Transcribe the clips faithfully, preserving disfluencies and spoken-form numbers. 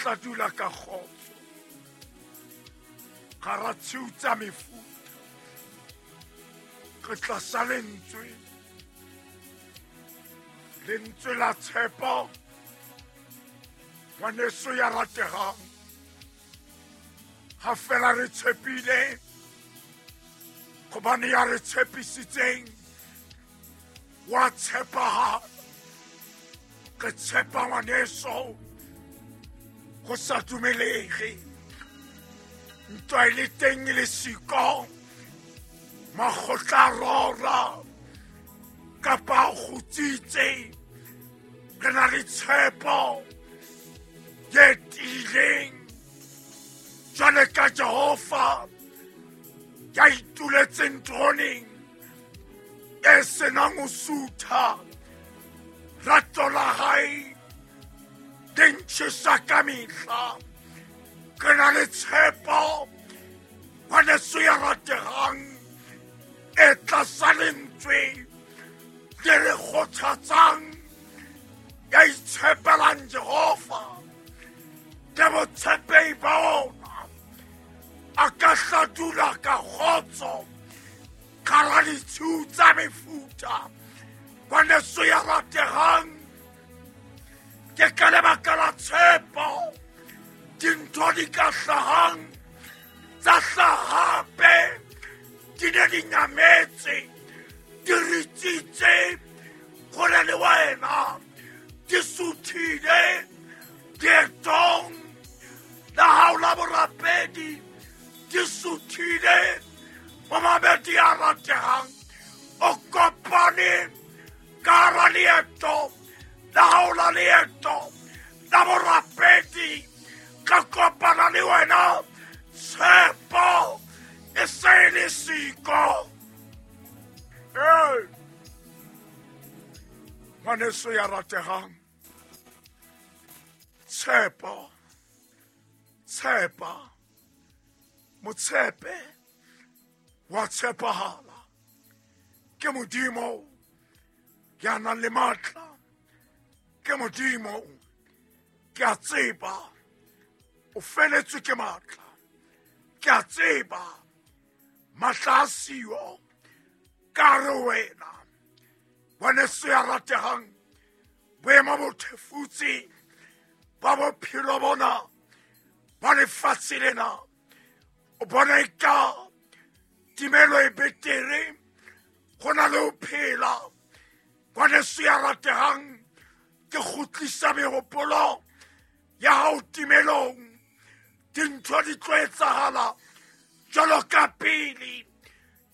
hla dula ka kgotso gara tshiu tsa mefuta. Re tlasa lentswe, lentswe la tshepo, ngwaneso ya rategang. Ha fela re tshepile, gobane ya re tshepisitseng wa tshepahala. Re tshepa ngwaneso go sa dumelege, ntwa e le teng e le siko, makgotla a rora kapa a kgutsitse. Re na le tshepo ye tiileng jwale ka Jehova ya ituletseng teroneng e senang ho sutha. Rato la hae le ntjhesa ka mehla. Re na le tshepo ngwaneso ya rategang e tlasa lentswe le re kgothatsang, ya itshepelang Jehova ke botshepehi ba ona. A ka hla dula ka kgotso gara ditshiu tsa mefuta. Ngwaneso ya rategang, ke ka lebaka la tshepo dintho di ka hlahang tsa hlaha hape di ne di nyametse, di ritsitse hole le wena, di suthile leetong la hao la borapedi, di suthile momamedi ya rategang. O kopane ka hara leeto la hao la leeto la borapedi, ka kopana le wena tshepo e se e le siko. Ee, ngwaneso ya rategang, tshepo, tshepa, motshepe wa tshepahala. Ke Modimo ya nang le matla, ke Modimo ke a tseba o feletswe ke matla, ke a tseba matla a siyo ka re wena. Ngwaneso ya rategang, boemo bo thefutse ba bophelo bona ba lefatshe lena, o bona eka timelo e betere go na le ho phela. Ngwaneso ya rategang, ke kgutlisa mehopolo ya hao timelong. Dintho di tlo etsahala jwalo ka pele.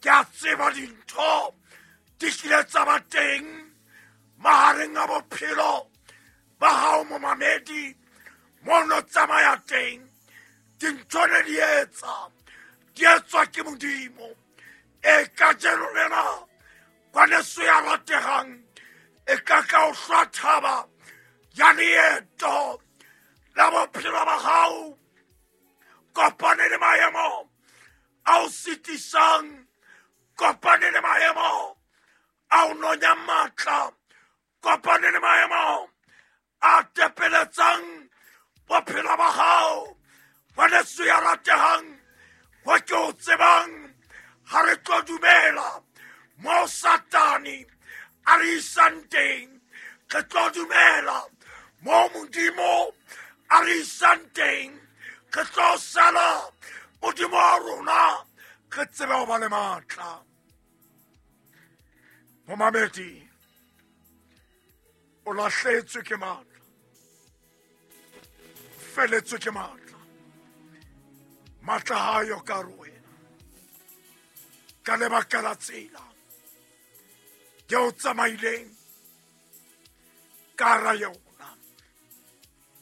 Ke a tseba dintho di kile tsa ba teng mahareng a bophelo ba hao momamedi, mo no tsamaya teng dintho ne di etsa, di etswa ke Modimo. E kajeno lena ngwaneso ya rategang, e ka ka o hlwa thaba ya leeto la bophelo ba hao, kopane le maemo a o sitisang, kopane le maemo a o nonyang matla, kopane le maemo a tepeletsang bophelo ba hao. Ngwaneso ya rategang, wa ke o tsebang, ha re tlo dumela mo Satane a re isang teng, re tlo dumela mo Modimo a re isang teng, re tlo sala Modimo wa rona, re tsebe ho ba le matla. Momamedi, o lahletswe ke matla, feletswe ke matla, matla ha yo ka re wena ka lebaka la tsela eo tsamaileng ka hara yona.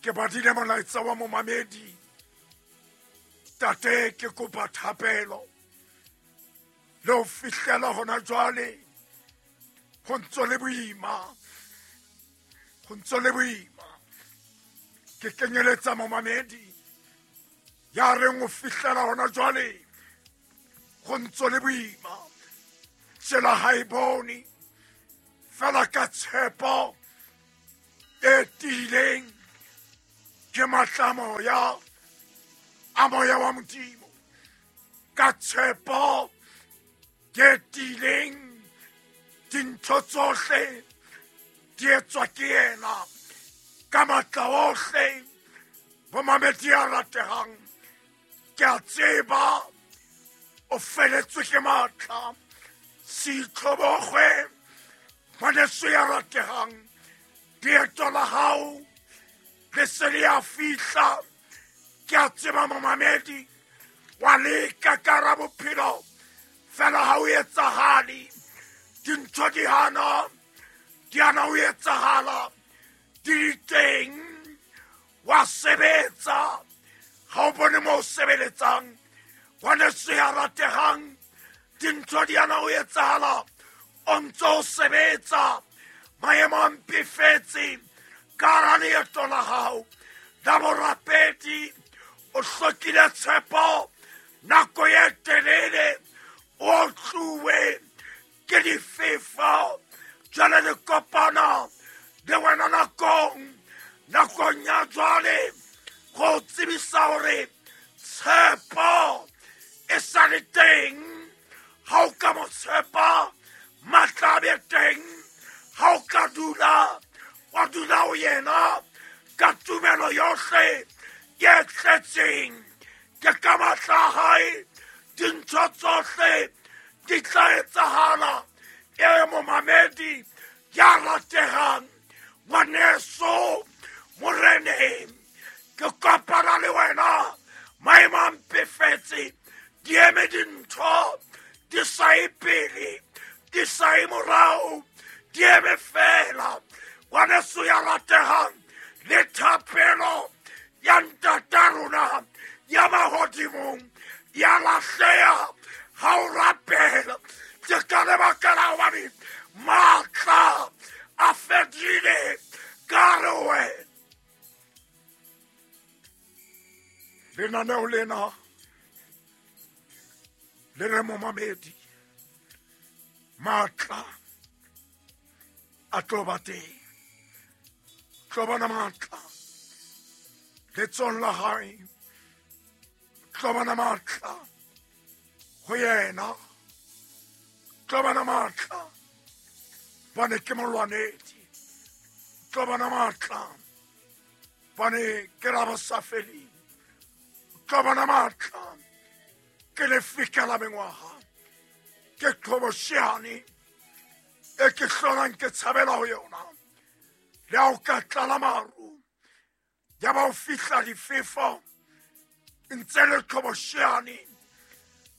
Ke badile molaetsa wa momamedi, tate ke kopa thapelo le ho fihlela hona jwale ho ntso le boima, ho ntso le boima. Ke kenyeletsa momamedi ya reng ho fihlela hona jwale ho ntso le boima, tsela ha e bone fela ka tshepo e tiileng Ke matla moya a moya wa Modimo ka tshepo ke tiileng dintho tsohle di etswa ke yena ka matla ohle. Bomamedi a ratehang, ke a tseba o feletswe ke matla. Se itlhobogwe ngwaneso ya ratehang, leeto la hao le se le a fihla. Ke a tseba momamedi wa leka ka hara bophelo, fela ha o etsahale. Dintho di hana, di hana ho etsahala, di di teng. Wa sebetsa, ha o bone moo o sebeletsang. Ngwaneso ya ratehang, dintho di hana ho etsahala, o ntso o sebetsa. Maemo a mpefetse ka hara leeto la hao la borapedi. O hlokile tshepo nako e telele, o tluwe ke difefo. Jwale le kopana le wena nakong, nakong ya jwale, go tsebisa hore tshepo e sa le teng. Ha o ka mo tshepa, matla a be teng. Ha o ka dula, wa dula ho yena ka tumelo yohle ye tletseng. Ke ka matla a hae dintho tsohle di tla etsahala. E momamedi ya ratehang, ngwaneso moreneng, ke kopana le wena. Maemo a mpefetse, di eme dintho di sa ye pele, di sa ye morao, di eme fela. Ngwaneso ya ratehang, le thapelo ya ntata rona ya mahodimong ya lahleha ha o rapela. Ke ka lebaka la hobane matla a fedile ka hare ho wena. Lenaneo lena le re momamedi, matla a tlo ba teng. Tlo bona matla letsohong la hae, tlo bona matla ho yena, tlo bona matla bane ke molwanedi, tlo bona matla bane ke rabosafeleng, tlo bona matla ke lefika la mengwaga, ke qhobosheane e ke hlolang ke tshabela ho yona. Le ha o ka tlala maru, ya ba o fihla difefo, ntse le qhobosheane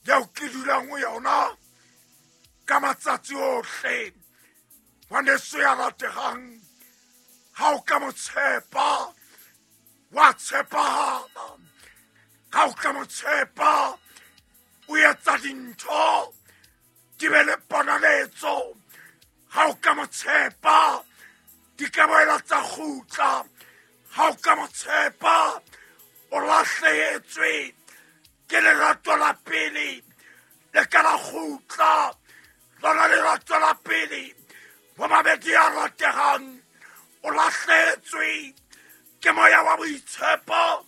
eo ke dulang ho yona ka matsatsi ohle. Ngwaneso ya ratehang, ha o ka mo tshepa, wa tshepahala. Ha o ka mo tshepa, o etsa dintho di be le ponaletso. Ha o ka mo tshepa, di ka boela tsa kgutla. Ha o ka mo tshepa, o lahlehetswe ke lerato la pele, le ka la kgutla. Lona lerato la pele, bomamedi ya ratehang, o lahlehetswe ke moya wa boitshepo,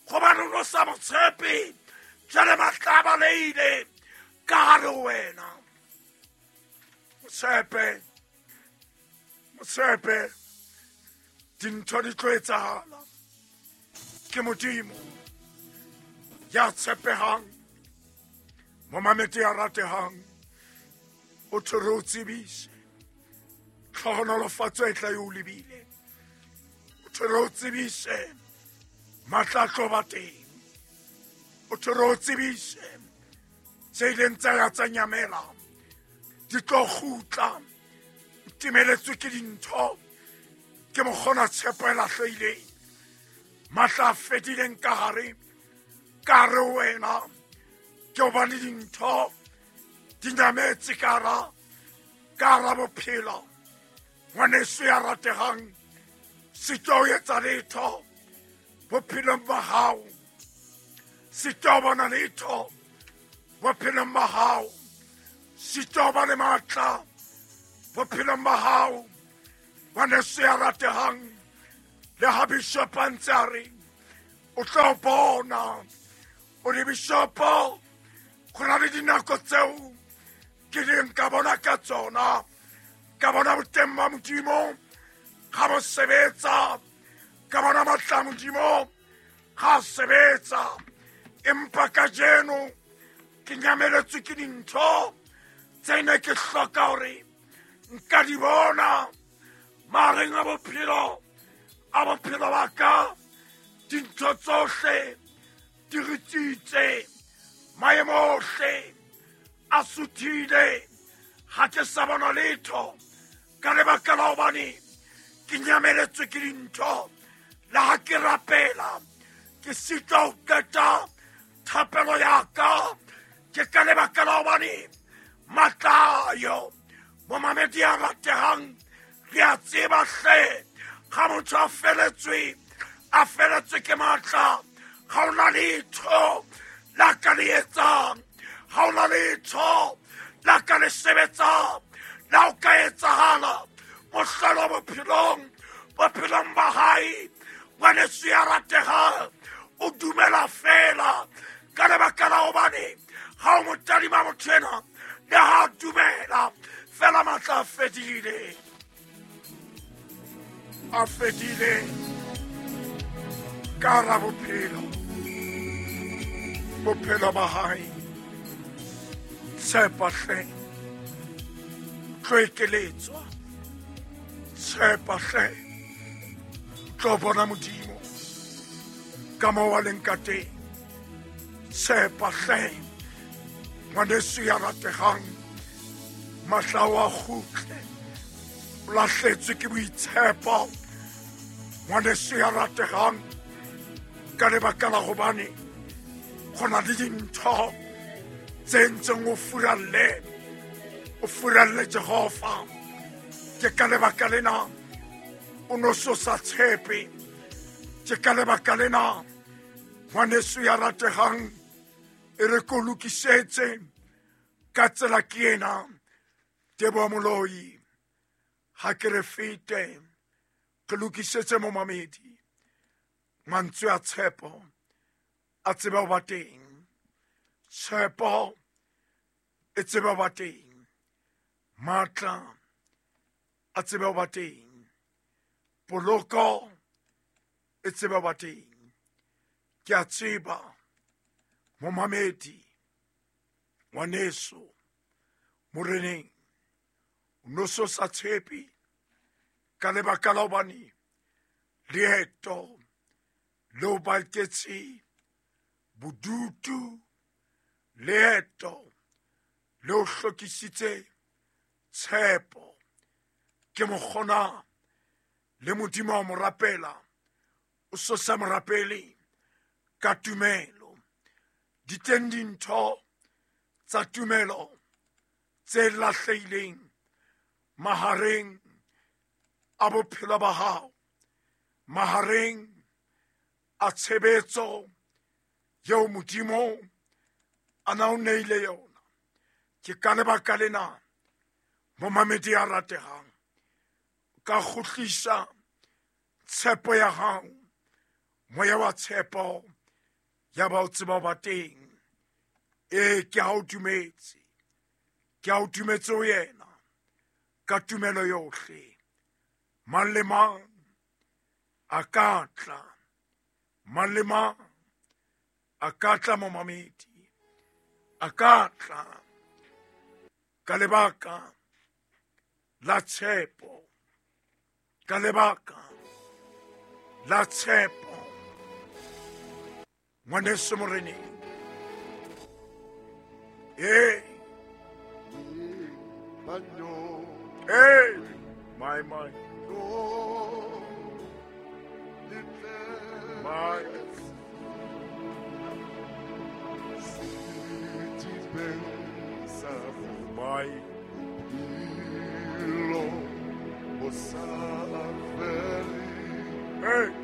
gobane o no sa mo tshepe. Jwale matla a balehile ka hare ho wena. Mo tshepe, mo tshepe, dintho di tlo etsahala. Ke Modimo ya tshepehang. Momamedi ya ratehang, o thwe re o tsebise tlhohonolofatso e tla e o lebile. O thwe re o tsebise matla a tlo ba teng. O thwe re o tsebise tse ileng tsa ya tsa nyamela di tlo kgutla. O timeletswe ke dintho, ke mokgona tshepo e lahlehileng, matla a fedileng ka hare, ka hare ho wena. Ke hobane dintho di nyametse ka hara, ka hara bophelo. Ngwaneso ya ratehang, sitwa ho etsa letho bophelong ba hao, sitwa ho bona letho bophelong ba hao, sitwa ho ba le matla bophelong ba hao. Ngwaneso ya ratehang, le ha bishop a ntse a re O tla bona o re bishopo go na le dinako tseo ke leng ka bona ka tsona ka bona boteng ba Modimo ga bo sebetsa ka bona matla a Modimo ga sebetsa empa kajeno ke nyameletswe ke dintho tse ne ke hloka hore nka di bona mahareng a bophelo a bophelo ba ka dintho tsohle di ritsitse maemo ohle a suthile ga ke sa bona letho ka lebaka la hobane ke nyameletswe ke dintho le ha ke rapela ke sitwa ho qeta thapelo ya ka ke ka lebaka la hobane matla ayo momamedi a ratehang re a tseba hle ga motho a feletswe a feletswe ke matla ga ona letho la ka le etsang ga ona letho la ka le sebetsang la o ka etsahala mohlolo bophelong bophelong ba hae ngwaneso ya ratehang o dumela fela ka lebaka la hobane ga o mo tadima motho ena le ha dumela fela matla a fedile a fedile ka hara bophelo bophelo ba hae tshepa hle tlo ekeletswa tshepa hle tlo bona Modimo ka moo a leng ka teng tshepa hle ngwaneso ya rategang matla ao a kgutle o lahletswe ke boitshepo ngwaneso ya rategang ka lebaka la hobane go na le dintho tse ntseng o furalle o furalle Jehova ke ka lebaka lena o no so sa tshepe ke ka lebaka lena ngwaneso ya rategang e re ko lokisetse ka tsela ke ena Teboho Moloi ha ke re fete ke lokisetse momamedi mantswe a tshepo a tsebe ho ba teng tshepo e tsebe ho ba teng matla a tsebe ho ba teng poloko e tsebe ho ba teng ke a tseba momamedi ngwaneso moreneng o no so sa tshepe ka lebaka la hobane leeto le o baketse bodutu leeto le o hlokisitse tshepo ke mokgona le Modimo wa mo rapela o so sa mo rapele ka tumelo di teng dintho tsa tumelo tse lahlehileng mahareng a bophelo ba hao mahareng a tshebetso eo Modimo a na o neile yona ke ka lebaka lena momamedi a rategang ka kgutlisa tshepo ya hao moya wa tshepo ya ba o tseba ba teng ee ke ha o dumetse ke ha o dumetse ho yena ka tumelo yohle mang le mang a ka tla mang le mang a ka tla momamedi a ka tla ka lebaka la tshepo ka lebaka la tshepo ngwaneso moreneng ee ee my my my my hey.